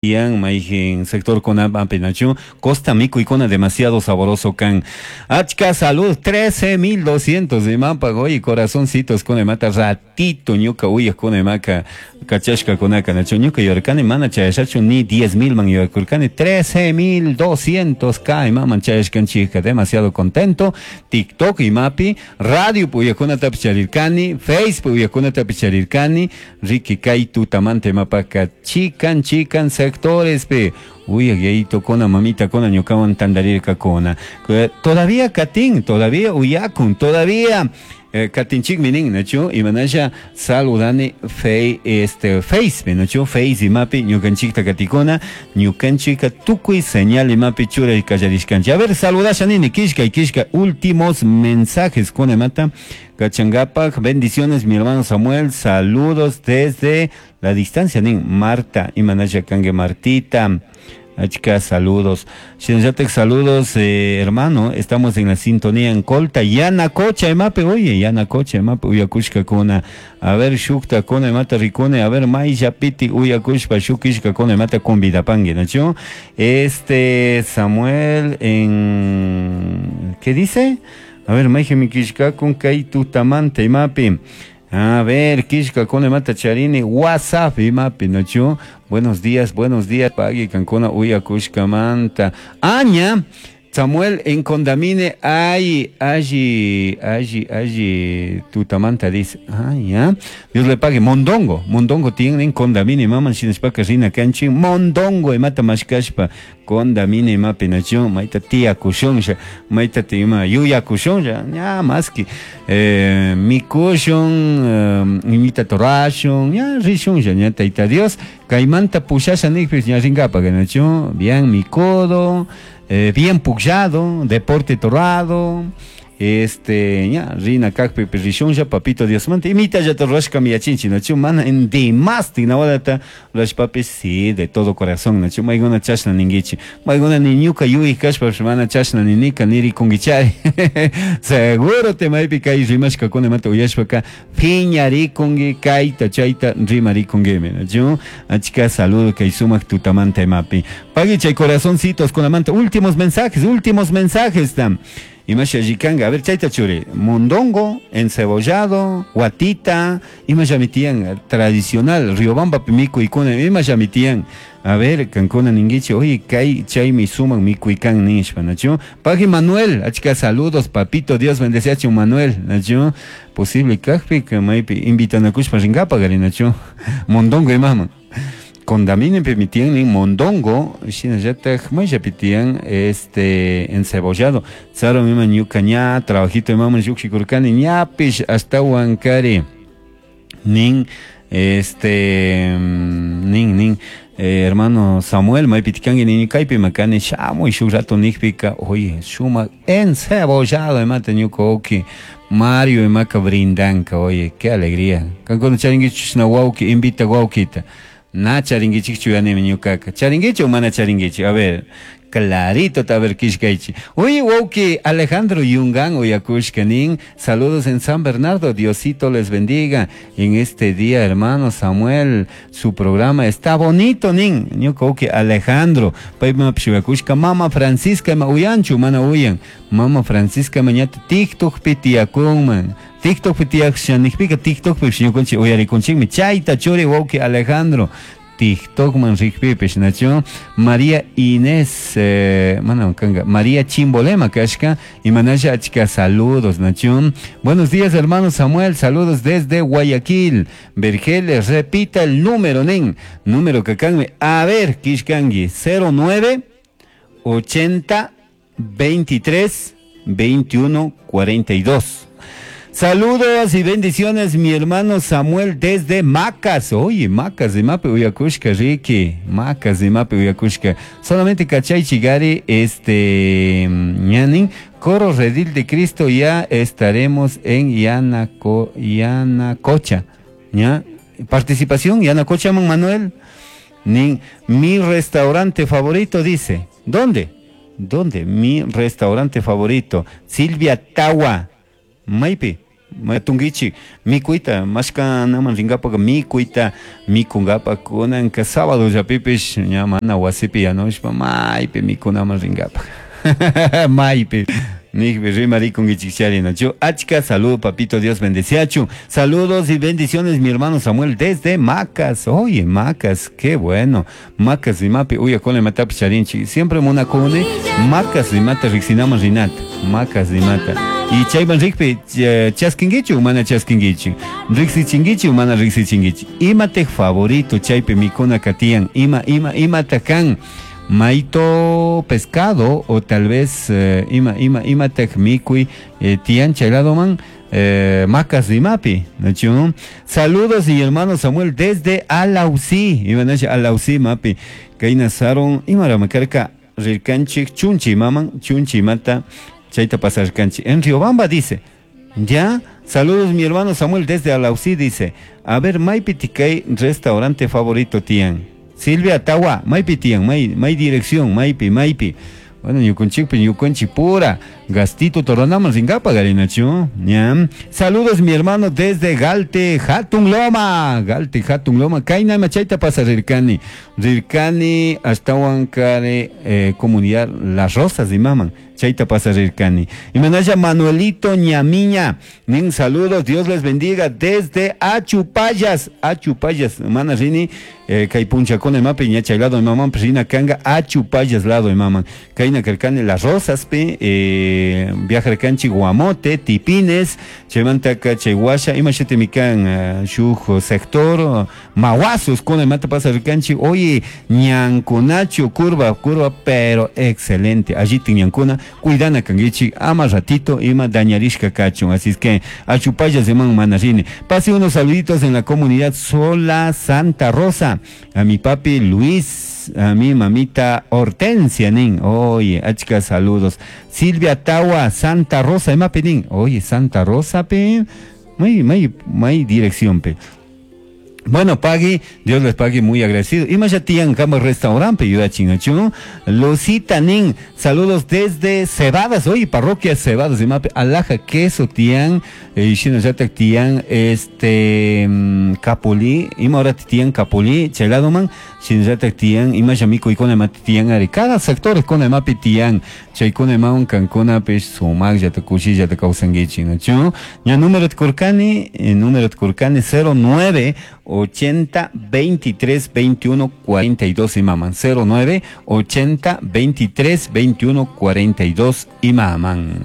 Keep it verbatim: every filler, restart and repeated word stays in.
Yan mayjin sector kunapi Costa mikuykuna demasiado sabroso kan. Achka salud trece mil doscientos imapa oye corazoncitos kuna imata ratito ñuka uyaj kuna imaka kachashka kunaka nachu ñuka yuyarkani mana chayashachu ni diez mil man yuyarkurkani trece mil doscientos k imaman chayashkanchikka demasiado contento. TikTok imapi radio uyajkunatapish charirkani, Facebook uyajkunatapish charirkani, riki kay tutamanta imapaka chikan chikan sectores pe uyaj yayito kona mamita kona ñukawan tandarirkakuna. Todavía katin, todavía uyakun, todavía eh, katinchikmi nin, nachu imanasha saludani fe, este, face, nachu face imapi ñukanchikta katikuna, ñukanchika tukuy señal imapi churay kallarishkanchik. A ver, saludasha nini, kishka y kishka, últimos mensajes kuna imata kachangapak. Bendiciones mi hermano Samuel, saludos desde la distancia nin Marta, imanasha kangue Martita. Achka, saludos. Shinallatak, saludos, eh, hermano. Estamos en la sintonía en Colta. Yanacocha, emape, oye, Yanacocha, emape, uyakushka kuna. A ver, shukta kuna, emata rikune. A ver, maisha piti, uyakushpa, shukishka kuna, emata convidapangue, ¿no? Este, Samuel, en... ¿Qué dice? A ver, maija mikishka con kay tutamante, emape. A ver, kishka kuna emata charini, WhatsApp, imapi, ¿no? Buenos días, buenos días, pagui cancuna uyakushka manta. Aña, Samuel, en Condamine hay, allí, allí, allí, tutamanta dice. Ah, ya. Dios le pague. Mondongo, mondongo tienen en Condamine, maman, shinespaka rina canchi, mondongo, imata mashkashpa, Condamine, mapi, nación, maita tía kushonsha, maita tima, yuya kushonsha, ya, maski, eh, mi kushon, eh, imita torashon, ya, rishonsha, ya, taita Dios, caimanta pushasha nikpis, ya, ringapa, nación, bien, mi codo, Eh, bien puxado, deporte torrado, este, ya, rina kakpi rishunja, papito Dios mante, imita ya torrashka miyachinchi, nachu, mana en demasti, nawadata, papi, sí, de todo corazón, nachu, maigona chashna ninguichi, maigona niñuka yui kashpa, mana chashna ninika, niri kungichari, seguro te maipi kai rimashka kone mate uyashpaka, piñari kungi, kaita, chaita, rimari kungime, nachu, achka saludo kay sumak tutamante mapi. Pagui chay corazoncitos con la manta, últimos mensajes, últimos mensajes tam. Imasha yikanga, a ver, chaita churi, mondongo, encebollado, guatita, imasha mitian, tradicional, Riobamba pimico ikuna, imasha mitian, a ver, cancuna ninguiche, oye, kai chay mi suman mi cuican nishpa, nacho, Pagui Manuel, achka saludos, papito, Dios bendice a Manuel, nacho, posible kajpi, que maipi, invitan a kushpa ringapa, gari, nacho, mondongo imama. Condaminen permitían en mondongo, shinallataj mayapitian este encebollado. Tsaro mima ñuka ña, trabajito mama yukshikurkani ñapish hasta huancari. Nin este nin nin eh, hermano Samuel maypitikangi nini kaypi makani shamuy shuk rato nikpika, oye, suma encebollado imata ñuka oki. Mario imaka brindanka, oye, qué alegría. Kankuna charingichushna wawki, invita wawkita. Na charingichik chuyanimi ñukaka. Charingichi o mana charingichi? A ver, clarito ta ver kishkaichi. Oye, wauki Alejandro Yungan uyakushka nin. Saludos en San Bernardo, Diosito les bendiga. En este día, hermano Samuel, su programa está bonito, nin. Ñuka wauki Alejandro, payma pshuyakushka, mama Francisca ma uyanchu, mana uyan. Mama Francisca mañata TikTok pitiakunman. TikTok pitiakshanikpika TikTok pipshiñukunchi uyarikunchikmi. Chayta churi wauki Alejandro. TikTok man rikpipish nacho María Inés eh, mana kanga María Chimbolema kashka y manasha achka saludos nacho. Buenos días hermano Samuel, saludos desde Guayaquil. Vergeles, repita el número nin, número kakanmi, a ver kishkangi cero nueve ochenta veintitrés veintiuno cuarenta y dos. Saludos y bendiciones, mi hermano Samuel desde Macas. Oye, Macas de Mape Uyakushka, Ricky. Macas de Mape Uyakushka. Solamente Cachay Chigari, este, ñanin, Coro Redil de Cristo, ya estaremos en Yanaco, Yanacocha. ¿Ya? Participación, Yanacocha, Manuel. Nin, mi restaurante favorito, dice. ¿Dónde? ¿Dónde? Mi restaurante favorito. Silvia Tawa. Maipi, Matungichi mikuita mashkanaman rinkapak mikuita mikunkapak kunanka sábado llapipish ña mana wasipi yanushpa maypi mikunaman rinkapak maypi nijpi rimarikunkichik charinachu. Achka salud, papito Dios bendeciachu. Saludos y bendiciones, mi hermano Samuel desde Macas. Oye, Macas, qué bueno. Macas rimapi uyakuna imatapish charinchik. Siempre munakuni Macas rimata riqsinaman rinata. Macas rimata. Y chayman rikpi chaskinkichu o mana chaskinkichu. Riqsichinkichu o mana riqsichinkichu. Imatej favorito chaypi mikuna tiyan. Ima, ima, imata kan. Maito pescado o tal vez eh, ima ima imatej mikuy eh, tiyan chay ladoman eh, Macas rimapi, ¿no? Saludos y hermano Samuel desde Alausí, imanasha Alausí mapi, kayna saron imaramakarka rirkanchik chunchi maman chunchi mata chayta pasarkanchik en Riobamba dice. Ya, saludos mi hermano Samuel desde Alausí dice. A ver, maypi tikay restaurante favorito tiyan. Silvia Tawa, maypi tiyan, may, may dirección, maypi, maypi. Bueno, ñukunchikpi, ñukunchik pura. Gastito toranaman rinkapa garinachu. Ya. Saludos mi hermano desde Galte, Hatun Loma. Galte, Hatun Loma. Kayna chayta pasa rirkani. Rirkani hasta Huancare, eh, comunidad Las Rosas de Maman. Chayta pasa rirkani. Y manaya Manuelito Ñamiña. Nin saludos, Dios les bendiga desde Achupayas. Achupayas, mana rini, eh, kay punchakuna imapi ña chay lado imaman rina kanga Achupayas lado imaman. Kayna karkani Las Rosas pe, eh, viajarkanchik Guamote, Tipines, chaymantaka chay washa, ima shutimi kan uh, shuk sector, Mahuasos, kuna imata pasa rirkanchik, oye, ñankunachu, curva, curva, pero excelente, allí ñankuna, cuidana kankichik, ama ratito, ima dañarishka kachun, así es que Achupayas iman mana rini. Pase unos saluditos en la comunidad Sola Santa Rosa, a mi papi Luis, a mi mamita Hortensia nin, oye, achka saludos. Silvia Tawa, Santa Rosa, imapi nin, oye, Santa Rosa pe, may, may, may dirección pe. Bueno, pagui, Dios les pague, muy agradecido. Y más ya tiyan kama restaurante, yuyachingachu. Lucita nin, saludos desde Cebadas, oye, parroquia Cebadas, imapi, alhaja queso tiyan, eh, shinallatak tiyan, este, capulí, ima ahora tiyan capulí, chay ladoman, shinallatak tiyan, ima ya mikuykuna imata tiyan ari, cada sector kuna imapi tiyan, chaykuna imawan kankunapish sumaqllata kushillata kawsankichik, nachu. Ña número kurkani, eh, número kurkani cero nueve ochenta veintitrés veintiuno cuarenta y dos imaman, cero nueve ochenta veintitrés veintiuno cuarenta y dos imaman.